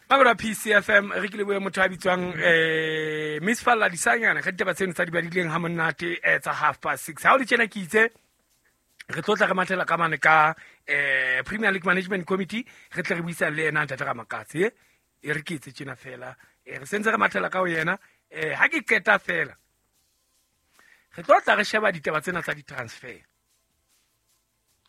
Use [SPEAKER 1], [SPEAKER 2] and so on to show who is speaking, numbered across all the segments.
[SPEAKER 1] Mamelo PCFM re ke lebohe motho a bitswang Miss Falla Disanyana ka ditaba tseno tsa di badileng ha monate tsa 6:30. Ha o le tjena ke itse re tlo tla re mathela ka mane ka Premier League Management Committee, re tle re buisane le yena ntate Ramakatse. E re ke etse tjena fela, re sentse re mathela ka ho yena. Ha ke qeta fela re tlo tla re sheba ditaba tsena tsa di-transfer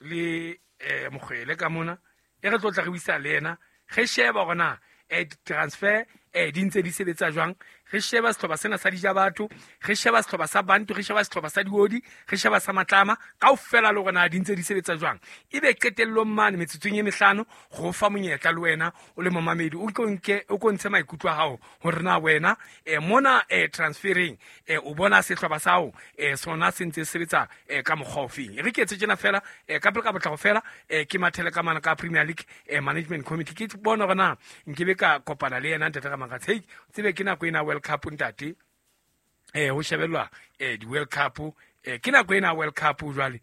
[SPEAKER 1] le Mokgwele ka mona, e re tlo tla re buisa le yena, re sheba hore na di-transfer di ntse di sebetsa jwang, re sheba sehlopha sena sa dija batho, re sheba sehlopha sa bantu, re sheba sehlopha sa diodi, re sheba sa matlama kaofela, le hore na di ntse di sebetsa jwang. Ebe qetellong mane metsotsong e mehlano go fa monyetla le wena o le momamedi o ko ntshe maikutlo a hao hore na wena mona transfereng o bona sehlopha sa hao sona se ntse sebetsa ka mokgwa ofeng. Re ke etse tjena fela ka pele ka potlako fela, ke mathele ka mana ka Premier League Management Committee, ke bona hore na nkebe ka kopana le yena ntate Ramakatsa. Hei, tsebe ke nako ena World Cup ntate, ho shebellwa di-World Cup, ke nako ena World Cup jwale,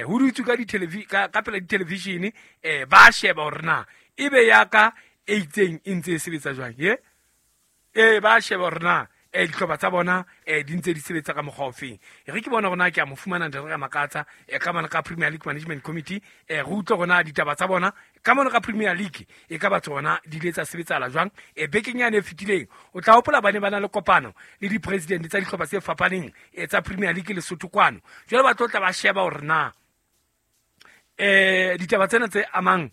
[SPEAKER 1] ho dutswe ka ka pela di-television, ba sheba hore na ebe ya ka e itseng e ntse e sebetsa jwang, ye ba sheba hore na dihlopha tsa bona di ntse di sebetsa ka mokgwa ofeng. Re ke bona hore na ke a mo fumana ntate Ramakatsa ka mane ka Premier League Management Committee, re utlwe hore na ditaba tsa bona ka mane ka Premier League e ka ba tsona di ile tsa sebetsahala jwang. Bekeng yane e fetileng o tla hopola ba ne ba na le kopano le di-president tsa dihlopha tse fapaneng tsa Premier League Lesotho kwano. Jwale ba tlo tla ba sheba hore na ditaba tsena tse amang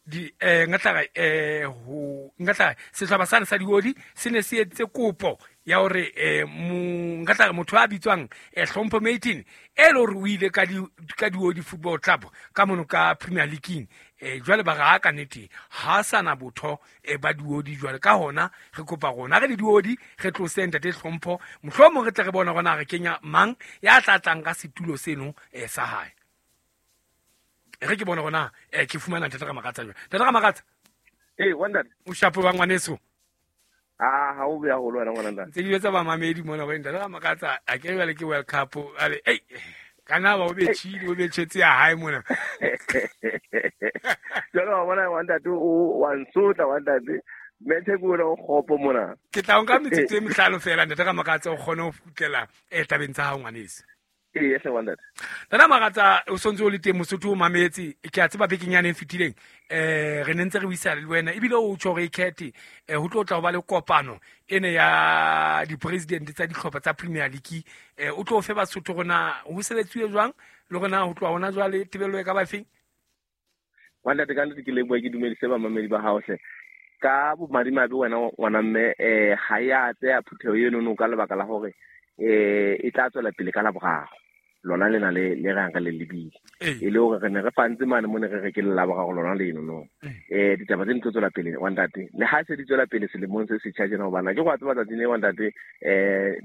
[SPEAKER 1] di ngatla sehlopha sane sa diodi se ne se etse kopo ya hore ngatla motho a bitswang Hlompho Matin e le hore o ile ka diodi Football Club ka mono ka Premier League, jwale ba re ha ka nnete ha sana botho ba diodi. Jwale ka hona re kopa rona re le diodi re tlose ntate Hlompho, mohlomong re tle re bona hore re kenya mang ya tla tlang ka setulo seno sa hae. Re ke bona rona ke fumana ntate Ramakatsa jwang. Ntate Ramakatsa,
[SPEAKER 2] wonder
[SPEAKER 1] o shapo wa ngwaneso.
[SPEAKER 2] Ha o beya holo wena ngwana ntate.
[SPEAKER 1] Ntse ke etsa ba mamedi mona go ntate Ramakatsa, a ke jwale ke World Cup ale ei kana ba o betjhile, o betjhetse ya hae mona.
[SPEAKER 2] Jwale wa bona wa ntate o wa nsotla wa ntate. Methe ke wena o kgopo mona.
[SPEAKER 1] Ke tla nka metsotso e mehlano fela ntate Ramakatsa o kgone ho kgutlela tabeng tsa hao ngwaneso.
[SPEAKER 2] Ee, hle wa ntate.
[SPEAKER 1] Ntate Ramakatsa o sontse o le teng Mosotho o mametse, ke a tseba bekeng yane e fetileng re ne ntse re buisana le wena ebile o tjho hore e khethe ho tlo tla ho ba le kopano ene ya di-president tsa dihlopha tsa Premier League, o tlo fe Basotho rona ho sebetsiwe jwang le rona ho tloha hona jwale tebello e ka ba feng?
[SPEAKER 2] Wa ntate, ka nnete ke leboha, ke dumedise bamamedi ba hao hle. Ka bomadimabe wena ngwana mme, ha ya tseya phutheho eno no ka lebaka la hore e tla tswela pele ka Laboraro. Lona lena le rang re le lebile. E le hore re ne re fantse mane mo ne re re ke le Laboraro lona leno no. Ditaba tse di tlo tswela pele wa ntate. Le ha se di tswela pele selemong se setjha tjena, hobane ke go a tseba tsatsing le wa ntate,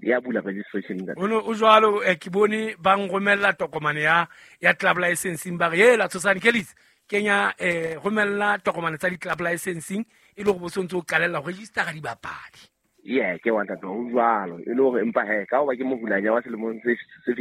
[SPEAKER 2] ya bula registration ntate.
[SPEAKER 1] Ono o jwalo, ke bone ba nromella tokomane ya club licensing, ba re hela Tshosane Kellis kenya romella tokomane tsa di-club licensing e le hore bo sontse o qalella ho registera dibapadi.
[SPEAKER 2] Yeah, ke wa ntate o jwalo. E le hore empa he ka hoba ke mohulanya wa selemong se